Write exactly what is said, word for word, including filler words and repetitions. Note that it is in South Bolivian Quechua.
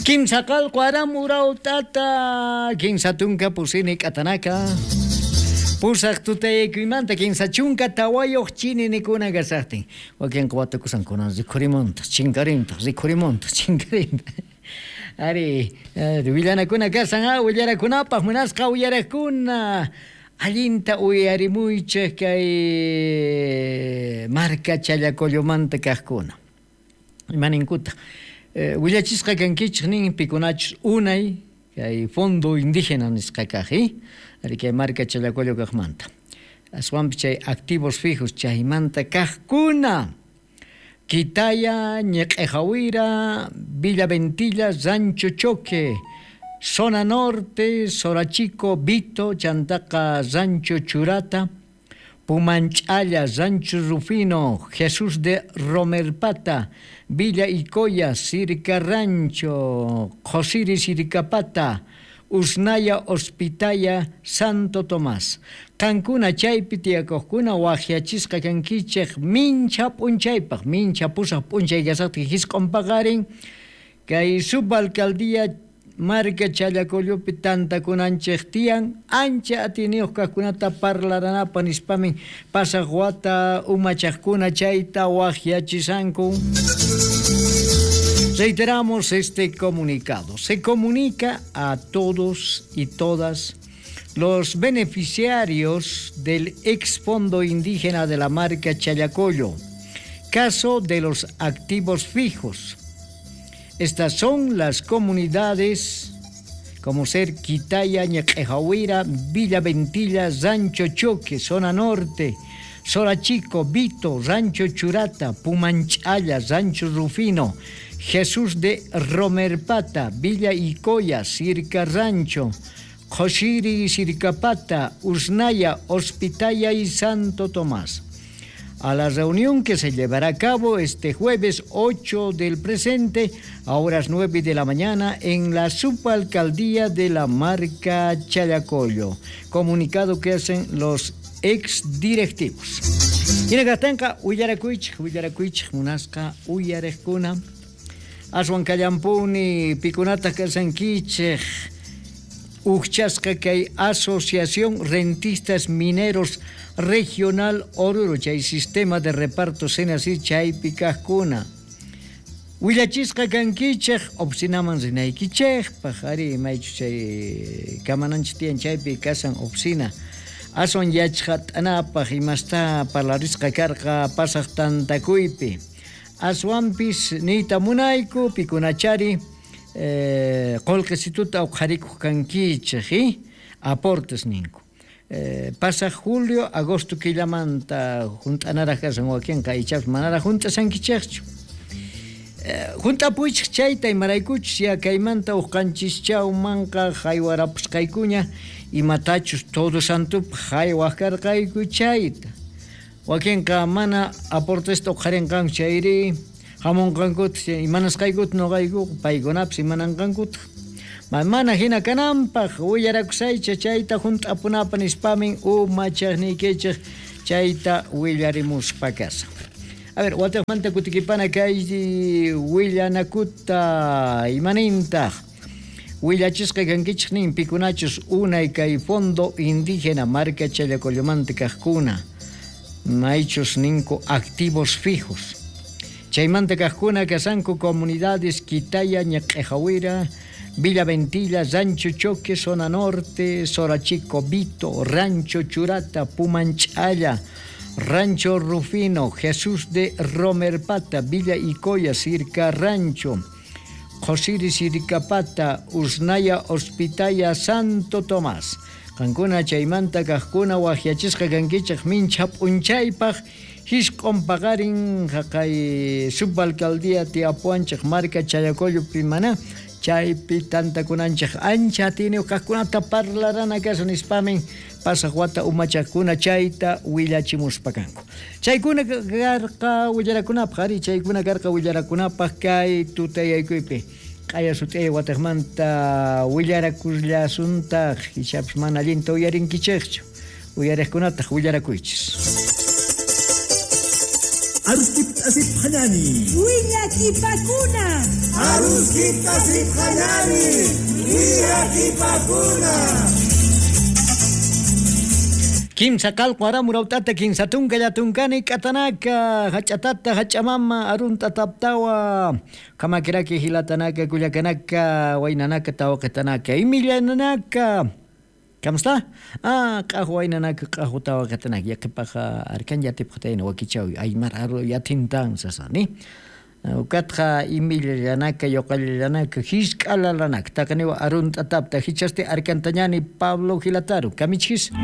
Kimsa qalqu aram urautata, kinsa tunka pusini k'atanaka. Pusaq tutaykuymanta kinsa chunka tawayuq chininikuna kasaqtin. Wakinqa watukusankuna rikhurimuntaq, chinkarintaq, rikhurimuntaq, chinkarintaq. Ari, ari, willanakuna kasan, ah, willarakunapaq munasqa uyarakuna. Allinta uyarimuychik kay marka Challacollomanta kaqkuna. Imaninkuta. Eh, willachisqa kankichik nin pikunachus unay kay fondo indígena nisqa kaq, eh? Ari kay marka Challacollo kaqmanta. Aswanpi chay activos fijos chaymanta kaqkuna. Quitaya, Ñeq'ejawira, Villa Ventilla, Rancho Choque, Zona Norte, Sorachico, Vito, Chantaca, Rancho Churata, Pumanchalla, Rancho Rufino, Jesús de Romerpata, Villa Icoya, Circa Rancho, Josiri Siricapata, Usnaya Hospitaya, Santo Tomás. Qankuna chaypi tiyakojkuna wajyachisqa kankichej mincha p'unchaypaj, mincha pusaj p'unchay kasaqtin jisq'on paqarin, kay subalcaldía marka Challacollopi tantakunanchej tiyan, ancha atiniyuq kaqkunata parlaranapaq nispamin pasaq wata umachaqkuna chayta wajyachisanku. Reiteramos este comunicado. Se comunica a todos y todas los beneficiarios del ex fondo indígena de la marca Challacollo, caso de los activos fijos. Estas son las comunidades como ser Quitaya, Ñeq'ejawira, Villa Ventilla, Rancho Choque, Zona Norte, Sorachico, Vito, Rancho Churata, Pumanchalla, Rancho Rufino, Jesús de Romerpata, Villa Icoya, Circa Rancho, Joshiri Sircapata, Usnaya, Hospitaya y Santo Tomás. A la reunión que se llevará a cabo este jueves ocho del presente a horas nueve de la mañana en la subalcaldía de la marca Challacollo. Comunicado que hacen los ex directivos. Hinakastanqa uyarakuychik, uyarakuychik munasqa uyarejkuna. Aswan kallampuni pikunata kasankichik. Uchasqa kay Asociación Rentistas Mineros Regional Oruro, chay sistema de reparto senasí chaypi kaqkuna. Willachisqa kankichik, oficinaman rinaykichikpaq, ari maychu chay kamananchik tiyan chaypi kasan oficina. Aswan yachqat'anapaq imasta parlarisqa karqa pasaq tantakuypi. Aswanpis niyta munayku pikunachari eh, qullqisituta uqharikuq kankichik, eh? Aportes ninku. Eh, pasaq julio, agosto killamanta junt'anaraq kasan wakinqa ichapas manaraq junt'asankichikchu. Eh, junt'apuychik chayta imaraykuchus ya kaymanta uqanchischawmanqa haywarapusqaykuña imatachus todo santupaq haywaq karqayku chayta. Wakinqa mana aportesta uqharinqanku chayri hamunqankuta imanasqaykuta nuqayku paykunapis imananqankuta. Mana hina kananpaq willarakusaycha chayta junt'apunapaq nispamin umachaqniykichik chayta willarimuspa kasan. A ver, wataqmanta kutikipana kay willanakuta imanintaq. Willachisqa kankichik nin pikunachus unay kay fondo indígena marka Challacollomanta kaqkuna. Maychus ninku activos fijos. Chaymanta kaqkuna kasanku comunidades Quitaya, Ñeq'ejawira, Villa Ventilla, Rancho Choque, Zona Norte, Sorachico, Vito, Rancho Churata, Pumanchalla, Rancho Rufino, Jesús de Romerpata, Villa Icoya, Circa Rancho, Josiri Siricapata, Usnaya Hospitaya, Santo Tomás. Qankuna chaymanta kaqkuna wajyachisqa kankichik mincha p'unchaypaq jisq'on paqarin jaqay subalcaldía tiyapuanchik marka Challacollopi mana chaypi tantakunanchik ancha atiniyuq kaqkunata parlarana kasan nispamin pasaq wata umachaqkuna chayta willachimuspa kanku. Chaykuna karqa willarakunapaq, ari chaykuna karqa willarakunapaq kay tutayaykuypi. Q'aya sut'ay wataqmanta willarakullasuntaq ichapas mana allinta uyarinkichikchu. Uyariqkunataq willarakuychis. Aruskipta asipqañani. Willakipakuna. Aruskipta asipqañani. Willakipakuna. Kimsa qalqu aramurautata kinsa tunka llatunkani k'atanaka hach'atata hach'amama arunta taptawa kamakiraki hilatanaka kullakanaka waynanaka tawaqetanaka imillananaka. ¿Cómo está? Ah, q'ahu waynanaka q'ahu tawaqetanaka yaqipaqa arkan yatipqatayna wakichawi aymar aru yatintan sasani. Ukatqa imillanaka yoqallanaka hisk'alalanaka taqaniwa arunta tapta hichasti arkantañani Pablo Gilataru kamichis.